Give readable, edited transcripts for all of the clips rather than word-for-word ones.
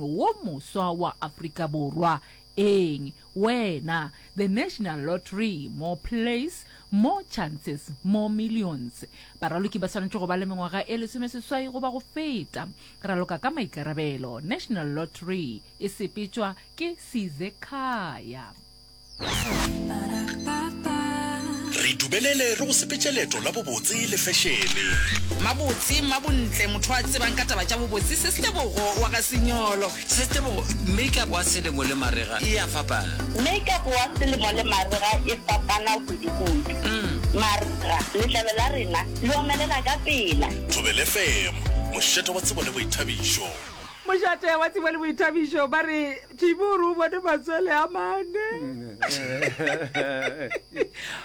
Wo moswa wa Afrika Borwa. Eng? Wena. The National Lottery, more plays, more chances, more millions. Baraloki ba swanetše go ba le mengwaga e lesomeseswai goba go feta. Raloka ka maikarabelo. National Lottery e sepetšwa ke Sizekhaya. Re dumelele re go sepetše leeto la bobotse le fešene. Mabotse, Mmabontle, motho a tsebang ka taba tša bobotse, Sestebogo wa ga Senyolo. Sestebogo, Make-up wa selemo le marega e a fapana. Make-up wa selemo le marega e fapana kudu-kudu. Marega, letlalo la rena le omelela ka pela. Thobela FM, mošate wa tsebo le boithabišo. Mošate wa tsebo le boithabišo ba re Timi o re o bone matswele a mane.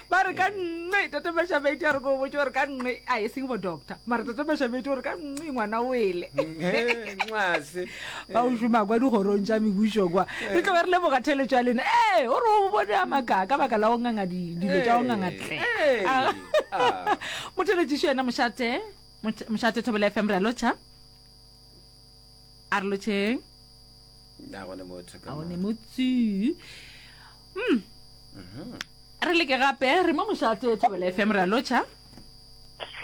Ba re ka nne Tate Mashabedi a re ko botse gore ka nne a e seng bo doctor mara Tate Mashabedi o re ka nne ngwana o ele. Ba o šoma kwa dikgorong tša mebušo kwa. Re tloge re leboga theeletšo ya lena. Ee, o re o bone a makaa ka baka la go nganga dilo tša go nganga tle. Motheeletšišo yena mošate, mošate Thobela FM re a lotšha. A re lotšheng. A gone motho ka A gone motsu. Mm. Re leke gape re mo mošate Thobela FM re a lotšha.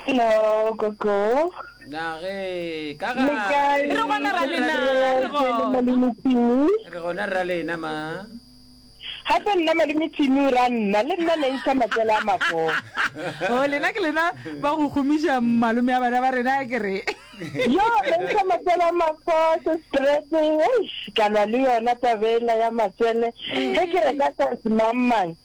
Hello, Gogo. Na ge ka Le ga kae? Re gona ra lena, re gona. Malome Timi. Re gona ra lena ma. Gape nna malome Timi o ra nna, le nna ne ntsha matswele a mafo. Oh, lena ke lena ba go gomiša malome a bana ba rena ke re. Yo, ne ntsha matswele a mafo, se stress, eish, ka lwa le yona taba ela ya matswele. Ge ke reka size mang mang,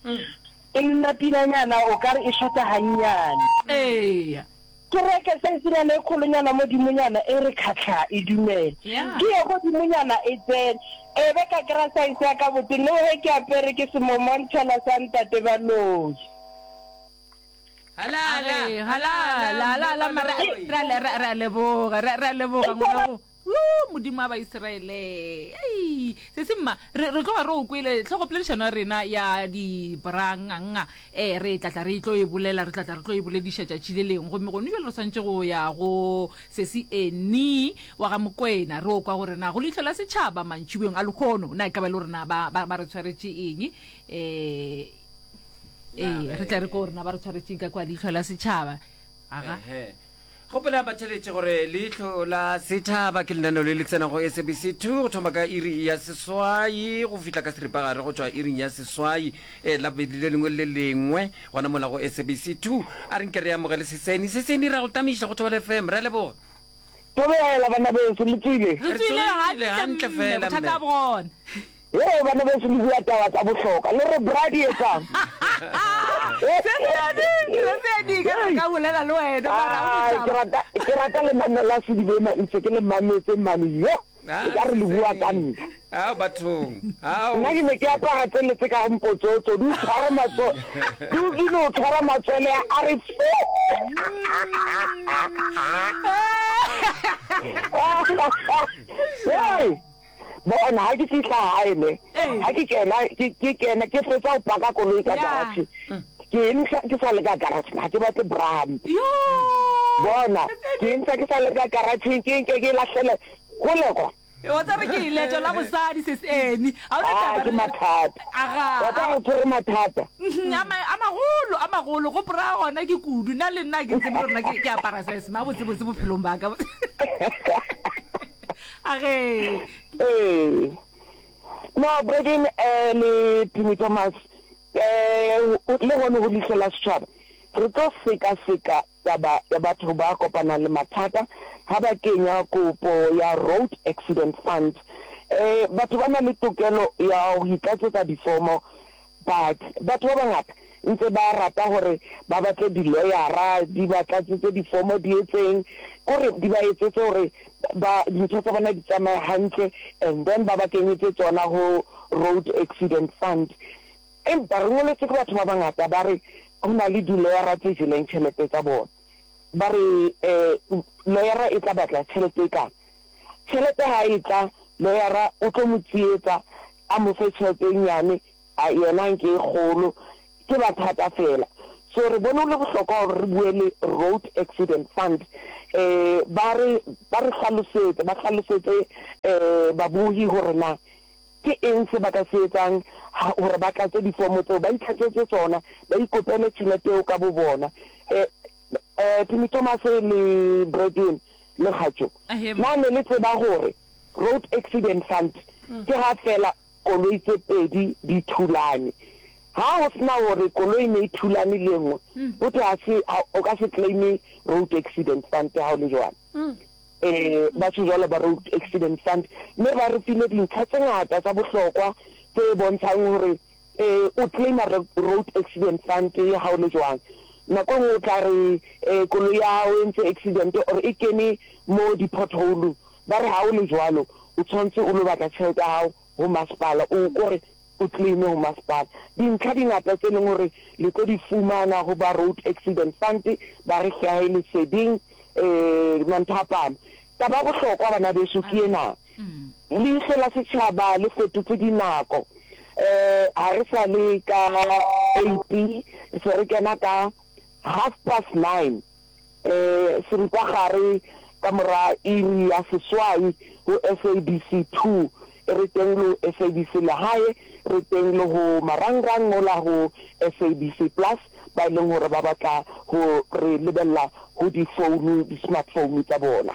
e nna pilanyana o ka re e shota gannyane. Eya. Ke reke saisenyana e kgolonyana modimonyana e re khatlha e dumele. Ke ye godimonyana e tsene. E be ka kry-a saese ya ka botse le ge ke apere ke semomontšhela sa ntate Baloyi. Halala, halala, halala, mara re a re a leboga, re a leboga ngwana go. Woo, Modimo wa Baisraele. Ei, sesi mma, re, re tloga re o kwele tlhogopoledišano ya rena ya dibranganga. Eh, re tla tla re tlo e bolela, re tla tla re tlo e bolediša tšatši le lengwe. Gomme gone bjale re swanetše go ya go sesi Annie wa ga Mokwena, re o kwa gore na go leihlo la setšhaba mantšiboeng a lehono, na e ka ba e le gore na ba, ba, ba re tshwaretše eng. Eh, ee, re tla re ko gore na ba re tshwaretše eng ka kwa leihlo la setšhaba. Aga. Ehe. Gopola batheeletši gore Leihlo la Sethaba ke lenaneo le le tsenago SABC 2 go thoma ka iri ya seswai go fihla ka seripagare go tšwa iring ya seswai eh, Labobedi le lengwe le le lengwe gona mola go SABC 2. A re nke re amogele Seseni. Seseni, re a go tamiša go Thobela FM. Re a leboga. Thobela, bana beso, le tswile? Re tswile hantle hantle mme, fela bothata mme. bo gona. Hee bana beso le bua taba tsa bohloka le re bra di etsang? Sesedi ka re ka bolela le wena mara ha o ke rata ke rata lenaneo la Sedibema ntse ke le mametse mane yo e ka re le bua ka nna. Ao bathong ao. Nna ke ne ke apara tsele tse ka mpotsotso di o tshwara matso di o di no tshwara matswele a re fo. Hey. Bona, ha ke fihla hae ne, ha ke kena, ke, ke kena, ke fetsa ho paka koloi ka garage, ke e ntsha ke sa le ka garage, ha ke batle bra hampe. Bona, ke e ntsha ke sa le ka garage, ke nke ke e lahlele hole kwa. Wa tseba ke leeto la bosadi sis Annie. Ha o na Ah, taba ke re- mathata. Aga. Wa tseba go tshwere mathata. Mhm, a ma- a magolo, a magolo. Go bra gona ke kudu. Nna le nna ke tsebe gore nna ke ke apara size mang botsebotse bophelong ba ka. A ge. Ee. No, Bradin eh, le Timmy Thomas, eh, le gone go Leihlo la Setšhaba, re tlo sekaseka taba ya batho ba kopanang le mathata ha ba kenya kopo ya Road Accident Fund. Eh, batho ba na le tokelo ya go itlatsetsa difomo But batho ba bangata ntse ba rata gore ba batle di-lawyer-ra di ba tlatsetse difomo di etseng, kore di ba etsetse gore ba dintho tsa bona di tsamaye hantle and then ba ba kenyetse tsona ho Road Accident Fund. Empa re ngoletswe ke batho ba bangata ba re ho na le di-lawyer-ra tse jeleng tjhelete tsa bona. Ba re lawyer-ra e tla batla tjhelete e kana. Tjhelete ha e tla lawyer-ra o tlo mo tsietsa a mo fe tjhelete e nyane a yena a nke e kgolo, ke mathata fela. So re bone go le bohlokwa gore re bue le Road Accident Fund. um ba re ba re hlalosetse, ba hlalosetse um babohi hore na ke eng se ba ka se etsang ha hore ba tlatse difomo tseo, ba itlatsetse tsona, ba ikopele tjhelete eo ka bo bona. Um um Timmy Thomas le Bradwin le Kgatšo, na ne le tseba hore Road Accident Fund ke ha feela koloi tse pedi di thulane? Ha ho sena hore koloi ne e thulane le e nngwe, ho thwe ha se, ha, o ka se claim-e Road Accident Fund ha o le jwalo. Eh, ba tjho jwalo ba Road Accident Fund. Mme ba re file dintlha tse ngata tsa bohlokwa tse bontshang hore eh, o claim-a Road Accident Fund ha o le jwang. Nako e nngwe o tla re eh, koloi ya hao e entse accident or e kene mo di-pothole-ong. Ba re ha o le jwalo, o tshwanetse o lo batla tjhelete ya hao ho masepala, o kore o claim-e ho masepala. Dintlha di ngata tse leng hore le tlo di fumana ho ba Road Accident Fund, ba re hlahe leseding eh manthapama. Taba ya bohlokwa bana beso ke ena, leihlo la setjhaba le fetotse dinako, eh ha re sa le ka eight, re se re kena ka half past nine. Seripagare ka mora iri ya seswai ho SABC 2. Re teng le ho SABC Lehae, re teng le ho marangrang mola ho SABC Plus ba e leng hore ba batla ho re lebella ho difounu, di-smartphone tsa bona.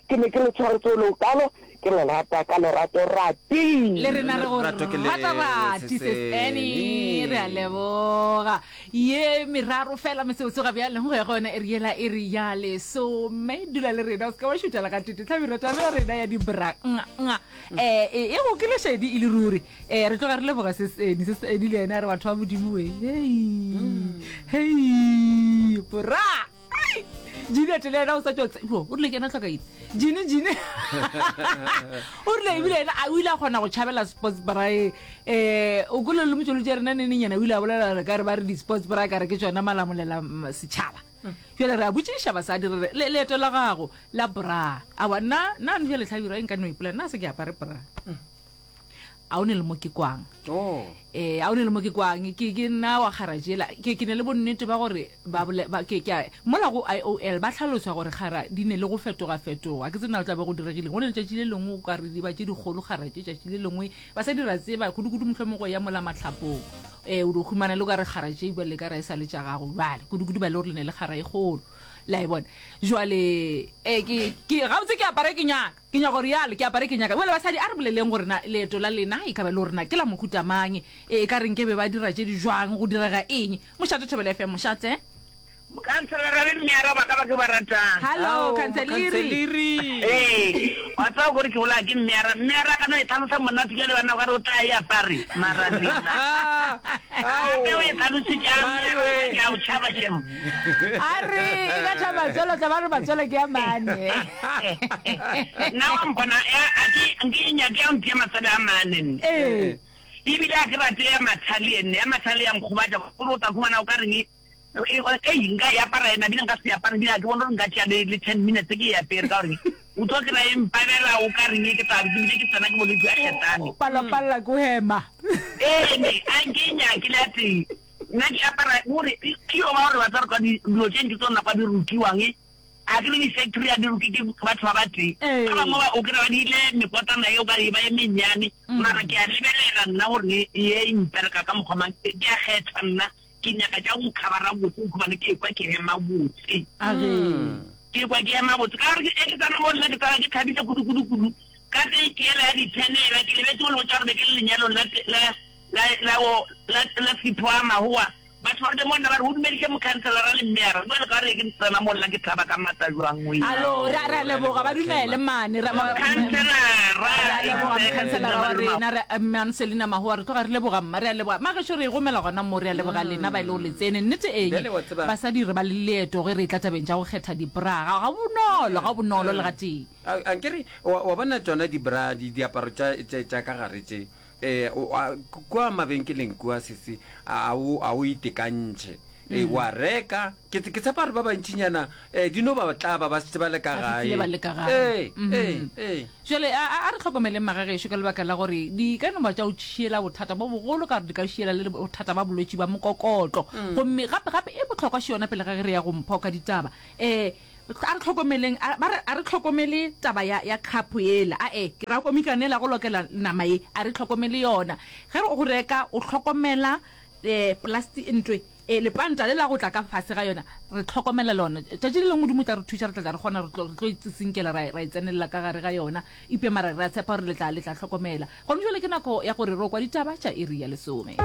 Ke ne ke le tshwaretse ho le hokalo, ke le rata ka lerato rati. Le rena re go Lerato ke le rata rati sis Annie, re a leboga. Ye meraro fela mesebetsi ga bjale go ya go yona iri yela iri ya lesome. Dula le rena o se ka wa šutela ga tete tlhabirwa taba ya rena ya dibra nga nga. Eh e go ke lešedi e le ruri. Eh re tloga re leboga sis Annie, sis Annie le yena a re batho ba Modimo we. Hei. Hei bra. Juliet le yena o sa tšo tse- o rile ke ena tlhokaile jine jine o rile ebile ena a o ile a kgona go tšhabela sports brae um o kole le motšwelotši ya rena nenenyana o ile a bolela re ka re ba re di-sports bra ka re ke tšona malamolela mm, setšhaba jale re a botšiša basadi re re le- leeto la gago la bra awa nna nna no jale tlhabirwa e nka no ipolela nna se ke apare bra a o ne le mo ke kwang Oh. eh a o ne le mo ke kwang ke ke nna wa kgara jela ke ke ne le bonnete ba gore ba bole ba ke ke a mola go IOL ba hlalosa gore kgara di ne le go fetoga fetoga ke tsena o tla be go diregile go ne letšatši le lengwe o ka re di ba tše dikgolo kgara tše tšatši le lengwe ba sa dira tseba kudu-kudu mohlomongwe go ya mola mahlapong eh o di humana le ka re kgara tše bjale ka re e sa le tša gago bjale kudu-kudu ba le gore le ne le kgara e kgolo la e bona jwale eh ke ke gabotse ke apare ke nyaka Ke nyaka go realo, ke apare ke nyaka. Bjale basadi, a re boleleng gore na leeto la lena e ka ba e le gore na ke la mohuta mang. E, e ka re nke be ba dira tše di jwang, go direga eng. Mošate Thobela FM, mošate. Mokhanselara le mmeara ba ka ba ke ba ratang. Hallo, Ao, Khanseliri. mokhanseliri. Ee, wa tseba gore ke bolaya ke mmeara. Mmeara a ka no e tlhalosa monate bjale bana ba re o tla e apare, mara lena. Gape o e tlhalositše a mmeara ke a o tšhaba shem. A re e betha matswele, o tla ba re matswele ke a mane. Nna wa mpona, a ke nke e nyake ya mphe matswele a mane nne. Ee. Ebile a ke rate ya mathale nne, ya mathale ya nkgobatša gore o tla khumana o ka reng ei nka e apara ena ebile nka se e apare ebile ga ke bone gore nka tšea le le ten minutes ke e apere ka gore o tlo kry-a e mpabela o ka reng ke tla be ke bile ke tsena ke bolwetse bja ketane. O palapalela ke go hema. Ee ne a nke e nyake le a tee. Nna ke apara gore ke yo ba gore ba tla re kwa dilo tše ntši tsona kwa di rukiwang a ke re di-factory a di ruke ke batho ba ba tee ba bangwe ba o kry-a ba diile mekotlana eo ka re e ba e mennyane mara ke a lebelela nna gore ye e mpereka ka mokgwa mang ke a kgetha nna ke nyaka tša go khabara botse gobane ke kwa ke hema botse ke kwa ke hema botse ka gore ke tsena mo nna ke tsena ke thabile kudu kudu kudu ka ge ke ela ya dithenela ke lebetse go le botša gore be ke le lenyalong la la la la la la Sipho a Mahoa batho ba re mo nna ba re o dumediše mokhanselara le mmeyara jale ka re ke tsena mo nna ke thaba ka matla jwang o Alo, re a leboga ba dumele mane ra mokhanselara re a leboga mokhanselara wa rena re mme Anselina Mahoa re tloga re leboga mma re a leboga magešo re e gomela gona mo re a leboga lena ba e le go le tsene nnete eng Bjale wa tseba- basadi re ba le leeto ge re etla tabeng tša go kgetha dibra ga ga bonolo ga bonolo le gatee A a nkere wa wa bona tšona dibra di diaparo tša tša tša ka gare tše eh o a kua mabenkeleng kua sesi a o a o itekantšhe e wa reka ke ke tshepa gore ba bantšinyana eh di no ba tlaba ba šetše ba le ka Ba gae fihlile ba le ka gae. ee Mhm. ee ee Jwale a a- a re hlokomeleng magagešo ka lebaka la gore di ka no ba tša o tšhiela bothata bo bogolo ka gore di ka šiela le bothata ba bolwetši ba mokokotlo gomme gape gape e bohlokwa še yona pele ga ge re ya go mpho ka ditaba um. A re hlokomeleng, a, ba re, a re hlokomele taba ya, ya khapo yela. A-e, ke ra komikane yela go lokela nama ye, a re hlokomele yona. Ge re go reka, o hlokomela eh, plasti, ntwe, eh, lepanta le la go tla ka fase ga yona, re hlokomela lona. Tšatši le lengwe Modimo o tla re thuša, re tla tla re kgona, re tlo, re tlo e tsitsinkela, ra, ra e tsenelela ka gare ga yona. Eupša mara re a tshepa gore le tla, le tla hlokomela. Gona bjale ke nako ya gore re o kwa ditaba tša iri ya lesome.